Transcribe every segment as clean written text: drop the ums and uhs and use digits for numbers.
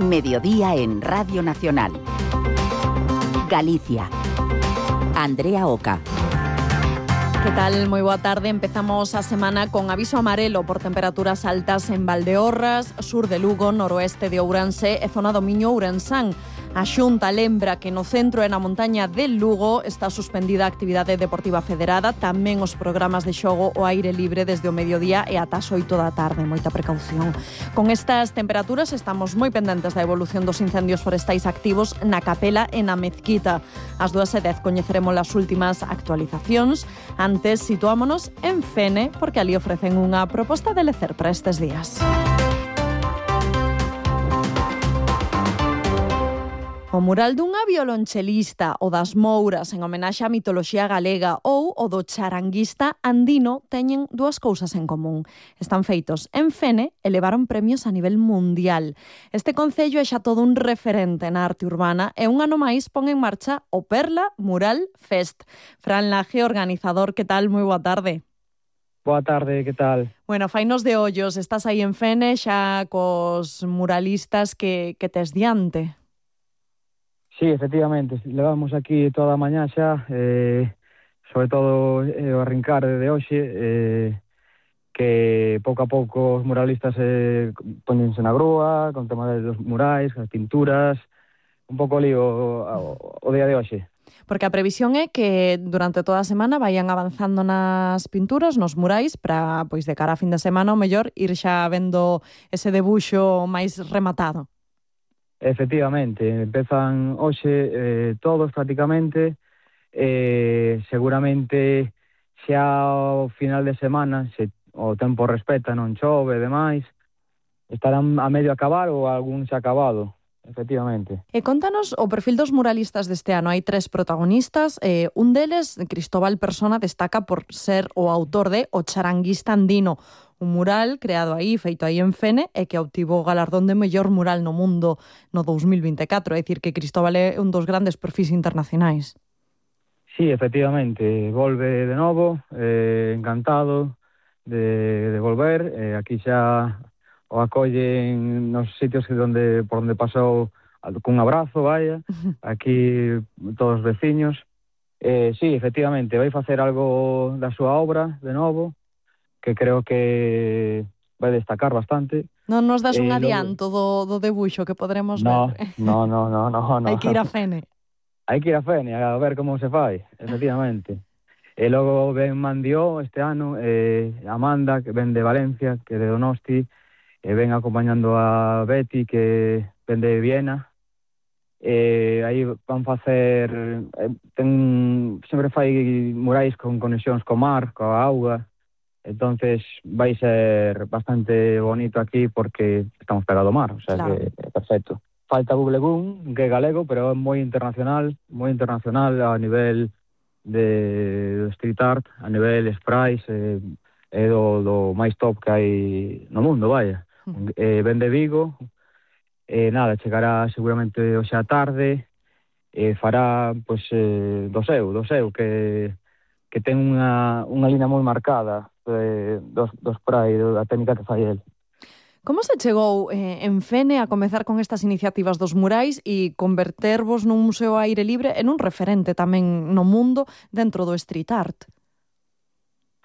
Mediodía en Radio Nacional. Galicia. Andrea Oca. Que tal? Moi boa tarde. Empezamos a semana con aviso amarelo por temperaturas altas en Valdeorras, sur de Lugo, noroeste de Ourense e zona do Miño Ourensán. A Xunta lembra que no centro e na montaña del Lugo está suspendida a actividade deportiva federada, tamén os programas de xogo ao aire libre desde o mediodía e ata as 8 da tarde. Moita precaución. Con estas temperaturas estamos moi pendentes da evolución dos incendios forestais activos na Capela e na Mezquita. Ás 2:10 coñeceremos as últimas actualizacións. Antes situámonos en Fene, porque ali ofrecen unha proposta de lecer para estes días. O mural dunha violonchelista, o das Mouras, en homenaxe á mitoloxía galega, ou o do charanguista andino, teñen dúas cousas en común. Están feitos en Fene e levaron premios a nivel mundial. Este concello é xa todo un referente na arte urbana e un ano máis pon en marcha o Perla Mural Fest. Fran Laje, organizador, que tal? Moi boa tarde. Boa tarde, que tal? Bueno, fainos de ollos, estás aí en Fene xa cos muralistas que tes diante. Sí, efectivamente, levamos aquí toda a mañá xa, sobre todo o arrincar de hoxe, que pouco a pouco os muralistas poñense na grúa, con tema dos murais, as pinturas, un pouco lío o día de hoxe. Porque a previsión é que durante toda a semana vayan avanzando nas pinturas, nos murais, para, pois, de cara a fin de semana, o mellor, ir xa vendo ese debuxo máis rematado. Efectivamente, empezan hoxe todos prácticamente, seguramente xa ao final de semana, se o tempo respeta, non chove e demais, estarán a medio acabar ou algún xa acabado, efectivamente. E contanos o perfil dos muralistas deste ano. Hai 3 protagonistas, un deles, Cristóbal Persona, destaca por ser o autor de O charanguista andino, un mural creado aí, feito aí en Fene, e que obtivo o galardón de mellor mural no mundo no 2024. É dicir, que Cristóbal é un dos grandes perfis internacionais. Sí, efectivamente, volve de novo, encantado de volver. Aquí xa o acollen nos sitios por onde pasou cun abrazo, vaya, aquí todos os veciños. Sí, efectivamente, vai facer algo da súa obra de novo, que creo que vai destacar bastante. Non nos das un adianto do debuxo que poderemos ver? No. Hai que ir a Fene. Hai que ir a Fene a ver como se fai, efectivamente. E logo ven Mandió este ano, Amanda, que ven de Valencia, que de Donosti, e ven acompañando a Betty, que ven de Viena. Aí van facer... sempre fai murais con conexións co mar, coa auga. Entonces vai ser bastante bonito aquí porque estamos pegado ao mar, o sea, claro, que é perfecto. Falta Bublegún, que é galego, pero é moi internacional a nivel de street art, a nivel sprays, é do máis top que hai no mundo, vaya. Ven de Vigo, nada, chegará seguramente hoxe á tarde, fará, pois, do seu, que ten unha línea moi marcada dos spray, da técnica que fai el. Como se chegou en Fene a comezar con estas iniciativas dos murais e convertervos nun museo ao aire libre en un referente tamén no mundo dentro do street art?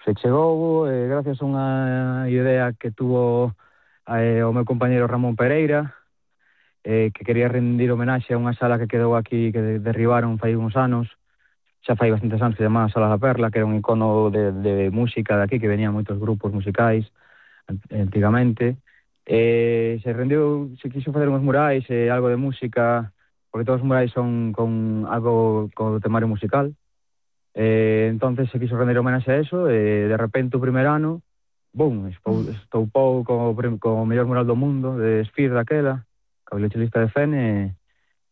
Se chegou gracias a unha idea que tuvo o meu compañeiro Ramón Pereira, que quería rendir homenaxe a unha sala que quedou aquí, que derribaron fai uns anos, xa fai bastantes anos, que se chamaba Sala da Perla, que era un icono de música de aquí, que venían moitos grupos musicais antigamente. Se quiso facer uns murais, algo de música, porque todos os murais son con algo con temario musical. Entonces se quiso rendir homenaxe a eso, e de repente o primer ano, boom, estoupou como o mellor mural do mundo, de Sphere daquela, a violonchelista de Fene,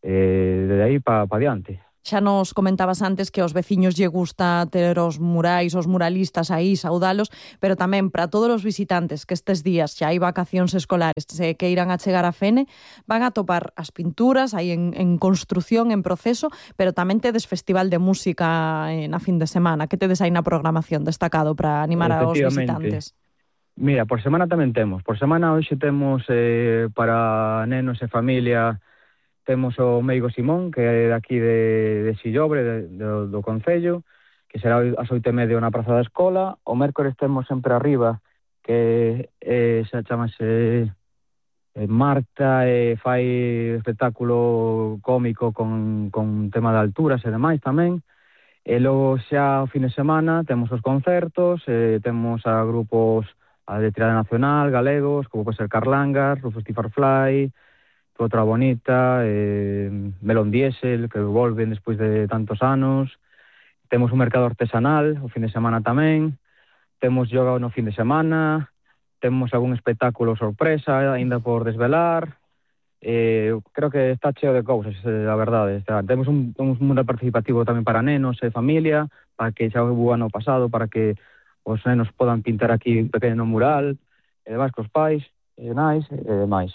de aí pa diante. Xa nos comentabas antes que aos veciños lle gusta ter os murais, os muralistas aí, saudalos, pero tamén para todos os visitantes que estes días xa hai vacacións escolares que irán a chegar a Fene, van a topar as pinturas aí en construción, en proceso, pero tamén tedes festival de música na fin de semana. Que tedes aí na programación destacado para animar aos visitantes? Mira, por semana tamén temos. Por semana hoxe temos para nenos e familia, temos o Meigo Simón, que é daqui de Sillobre, do Concello, que será ás 8:30 na Praza da Escola. O mércores temos sempre arriba, que xa chamase Marta, fai espectáculo cómico con tema de alturas e demais tamén. E logo xa o fin de semana temos os concertos, temos a grupos de tirada nacional, galegos, como pode ser Carlangas, Rufus T. Farfly, Outra Bonita, Melón Diesel, que volven despois de tantos anos. Temos un mercado artesanal o fin de semana tamén. Temos yoga no fin de semana. Temos algún espectáculo sorpresa aínda por desvelar. Creo que está cheo de cousas, a verdade. Temos un mundo participativo tamén para nenos e familia, para que xa hubo ano pasado, para que os nenos podan pintar aquí un pequeno mural, e demais cos pais, e nais, e demais.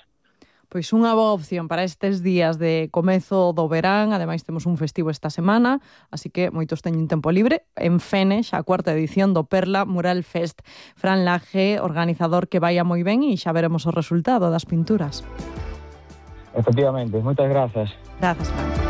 Pois unha boa opción para estes días de comezo do verán. Ademais temos un festivo esta semana, así que moitos teñen tempo libre. En Fene, xa a cuarta edición do Perla Mural Fest. Fran Laje, organizador, que vaya moi ben e xa veremos o resultado das pinturas. Efectivamente, moitas grazas. Grazas, Fran.